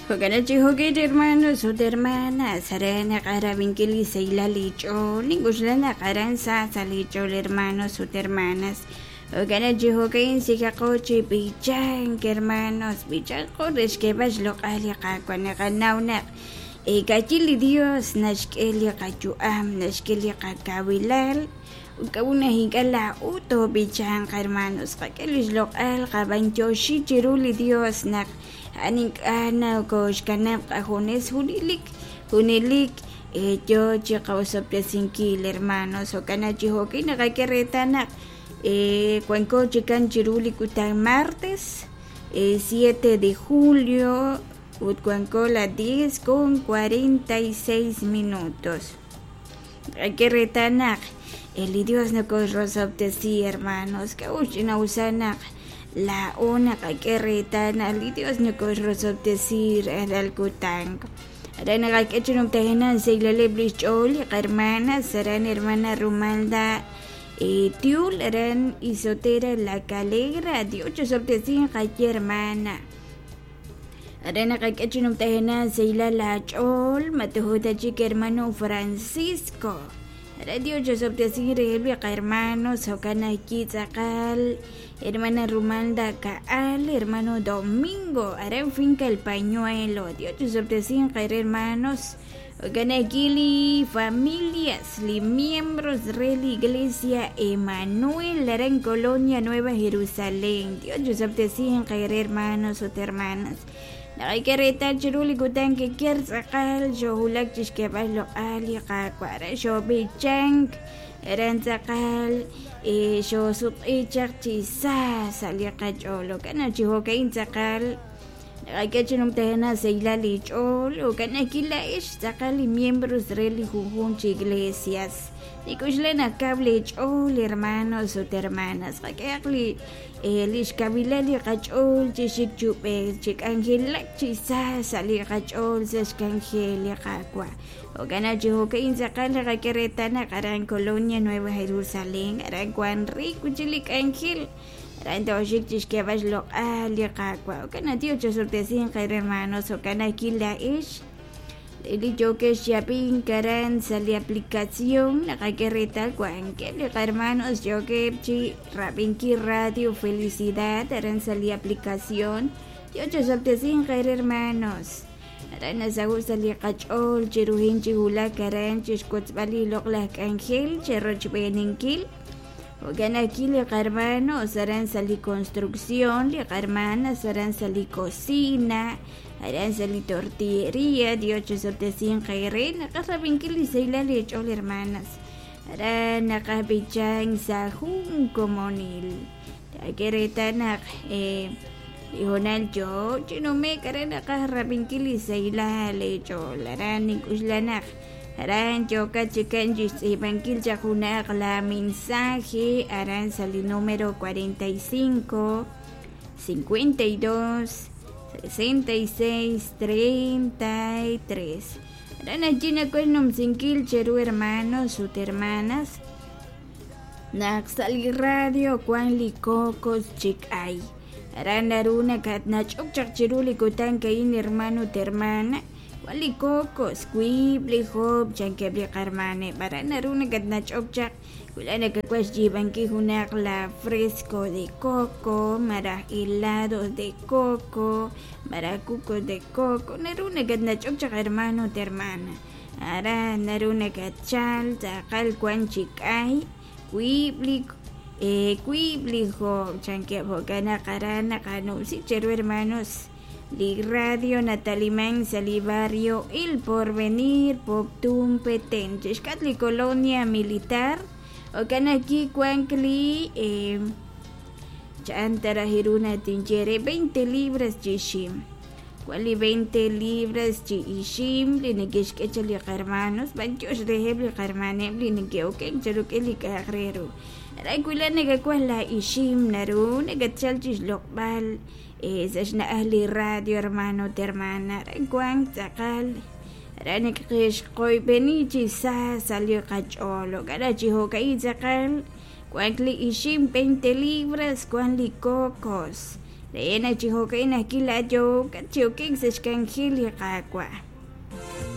Jo'kan chi jo'kan hermanos ut hermanas aran naqarab'inkil li sahilal li ch'ool nink'uxla naq aran sa sa' li ch'ool hermanos ut hermanas. Jo'kan chi jo'kan sikaqo chi b'ichank hermanos b'ichanqo re xk'eeb'al xloq'al li Qaawa' naqanaw naq ka'chi li Dios naxk'e li qayu'am naxk'e li qakawilal ut k'a'ut naq ink'a' laa'o toob'ichanq hermanos qak'e li xloq'al qab'anyoxi chiru li Dios naq a'an ink'a' nokoxkanab' qajunes junelik junelik yo chi qosob'tesinkil hermanos. Jo'kan chi jo'kan naqak'e reetal naq wanko chikan chiru li kutan martes 7 de julio ut wanko la 10:46 minutos. Naqak'e reetal naq li Dios nokoxrosob'tesi hermanos. K'a'ut ch'ina'usa naq laa'o naqak'e reetal naq li Dios nokoxrosob'tesi rajlal kutan. Aran naqak'e chi numtajenaq xsahilal li xch'ool li qahermanas aran hermana Rumalda Tiul aran Isotera La Calera. Dios chosob'tesinq qaye hermana. Aran naqak'e chi numtajenaq xsahilal laach'ool matujuta chik hermano Francisco. Aran Dios chosob'tesinq reheb' li qahermanos jo'kan ajwi' tz'aqal hermana Rumalda Ka'al, hermano Domingo, aran Finca El Pañuelo. Dios chosob'tesinq qere hermanos. Jo'kan ajwi' li familias, li miembros re la Iglesia Emanuel aran Colonia Nueva Jerusalén. Dios chosob'tesinq qere hermanos ut hermanas. Naqak'e reetal chiru li kutan keker tz'aqal xoowulak chi xk'eeb'al xloq'al li Qaawa' aran xoob'ichank aran tz'aqal xoosutq'i chaq chi sa sa' li qach'ool. Jo'kan chi jo'ka'in tz'aqal naqak'e chi numtajenaq sahilal li ch'ool. Jo'kan ajwi' laa'ex tz'aqal li miembros re li junjunq chi iglesias. Nik'uxla naq kaw leech'ool hermanos ut hermanas. Qak'ehaq li li xkawilal li qach'ool chi xik chub'ej chi k'anjelak chi sa sa' li qach'ool sa' xk'anjel li Qaawa'. Jo'kan chi jo'ka'in tz'aqal naqak'e reetal naq aran Colonia Nueva Jerusalén aran wan riik chi li k'anjel aran tooxik chi xk'eeb'al xloq'al li Qaawa'. Jo'kan naq Dios chosob'tesinq qe hermanos. Jo'kan ajwi' laa'ex li yookex chi ab'ink aran sa' li aplicación naqak'e reetal wankeb' li qahermanos yookeb' chi rab'inkil Radio Felicidad aran sa' li aplicación. Dios chosob'tesinq qe hermanos. Aran nasaho' sa' li qach'ool chiruhin chi wulak aran chi xwotzb'al li loq'laj k'anjel cherochb'eeninkil. Jo'kan ajwi' li qahermanos aran sa' li construcción, li qahermanas aran sa' li cocina, aran sa' li tortillería. Dios chosob'tesinq qere naqaj rab'inkil li sahilal li ch'ool hermanas. Aran naqaj b'ichank sa' jun komonil. Taak'e reetal naq li hoonal yoo chi nume'k aran naqaj rab'inkil li sahilal li ch'ool. Aran nink'uxla naq aran yookat chikan chi xtz'iib'ankil chaq junaq la mensaje aran sa' li número 45 52 66 33. Aran allí nakuel numsinkil cheru hermanos ut hermanas naq sa' li radio wan li cocos chik'ay. Aran naru nakatnach'ok chaq chiru li kutan ka'in hermano ut hermana wan li cocos wiib' li job' chankeb' li qarmaneb'. Aran naru nakatnach'ok chaq wila nakakuaj xyiib'ankil junaq la fresco de coco malaj helados de coco malaj cucos de coco. Naru nakatnach'ok chaq hermano ut hermana. Aran naru nakatchal tz'aqal wan chi k'ay wiib' li wiib' li job' chankeb'. Jo'kan naq aran naqanumsi cheru hermanos li radio nataliman sa' li barrio El Porvenir Poptún Petén chixk'atq li colonia militar. Jo'kan ajwi' wank li chan taraj ru natinye re 20 libras chi ixim. Wan li 20 libras chi ixim li neke'xk'e chaq li qahermanos b'antiox reheb' li qahermaneb' li neke'okenk cha rik'in li k'a'aq re ru. Aran wila nakawaj la ixim naru nakatchal chi xloq'b'al sa' xna'aj li radio hermano ut hermana. Aran wank tz'aqal aran nakaqexqoyb'eni chi sa sa' li qach'ool. Jo'kan chi jo'ka'in tz'aqal wank li ixim 20 libras wan li cocos. Re naq chi jo'ka'in ajwi' laa'at yookat chi okik sa' xk'anjel li Qaawa'.